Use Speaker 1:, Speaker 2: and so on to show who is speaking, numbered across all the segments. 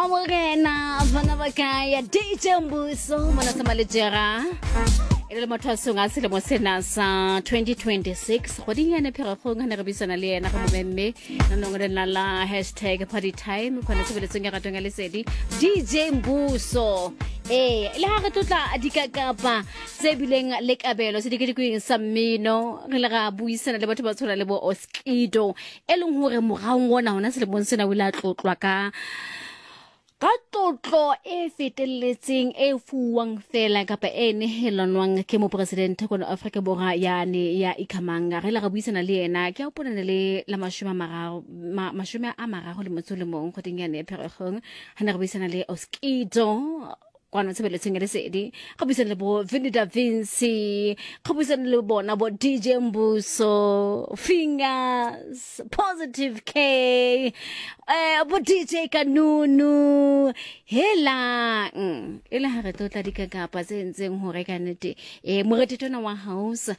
Speaker 1: Mmamorena bana ba kae DJ Mbuso mona sa malejera e le mathwasong a selemo sena sa 2026 kgweding yane pheregong ga ne re buisana le yena re momemme nanong re nna la hashtag party time kgona tshebeletsong ya ratong ya lesedi DJ Mbuso. Ee, le ga re tlotla dikakapa tse bileng le kabelo sedikedikweng sa mmino, re le ra buisana le batho ba tshwana le bo Oskido, e leng gore moraong ona hona selemong sena o ile a tlotlwa ka tlotlo e feteletseng e fuwang fela kapa e nehelanwang ke moporesidente kono Afrika Borwa yane ya Ikhamanga. Re ile ra buisana le yena ke a hopola le la 30 le motso le mong kgweding yane ya Pherekgong, ha ne re buisana le Oskido kwano tshebeletsong ya lesedi, go buisana le bo Vinny Da Vinci, go buisana le bona bo DJ Mbuso, Fingers, Positive K, bo DJ Kanunu. Helang, e le ga re tlotla dikakapa tse ntseng gore ka nnete morethetona wa house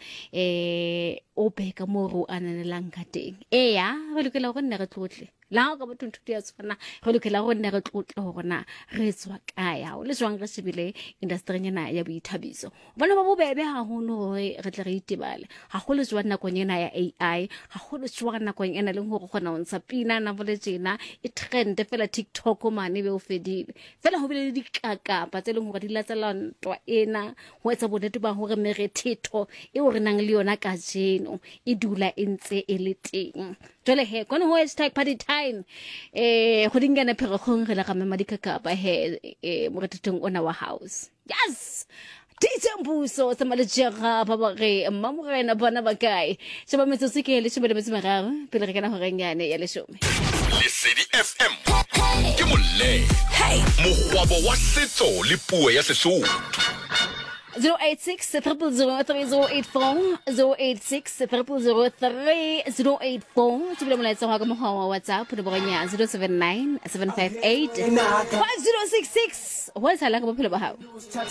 Speaker 1: o be ka moo re o ananelang ka teng. Eya, re lokela gore nne re tlotle la ga o ka batho ntho ya tshwana, re lokela gore nne re tlotle gore na re tswa kae ga o le jwang re shebile industry ena ya boithabiso, gobane ba bobebe haholo gore re tle re itebale gagolo jwang nakong ena ya AI, gagolo jwang nakong ena leng gore kgona go ntsha pina na bole tjena e trend fela TikTok mane be o fedile fela. Go bile le dikakapa tse e leng gore di latela ntwa ena go etsa bonnete ba gore merethetho eo re nang le yona kajeno e dula e ntse e le teng. Jwale he kone ho hashtag party time go dingane pheregong re le ga mema dikakapa he morethetong ona wa house. Yes, DJ Mbuso tsamalejega ba ba re mmamorena bona ba kae. Sheba metsotso ke 13 pele re kena horeng yane ya 10.
Speaker 2: Lesedi FM ke molele mokgwabo wa setso le puo ya Sesotho.
Speaker 1: 086 000 3084, 086 000 3084. Tsebile molaetsa wa ka mokgwa wa WhatsApp nomorong ya 079 758 5066. Ho etsahalang ka bophelo ba hao?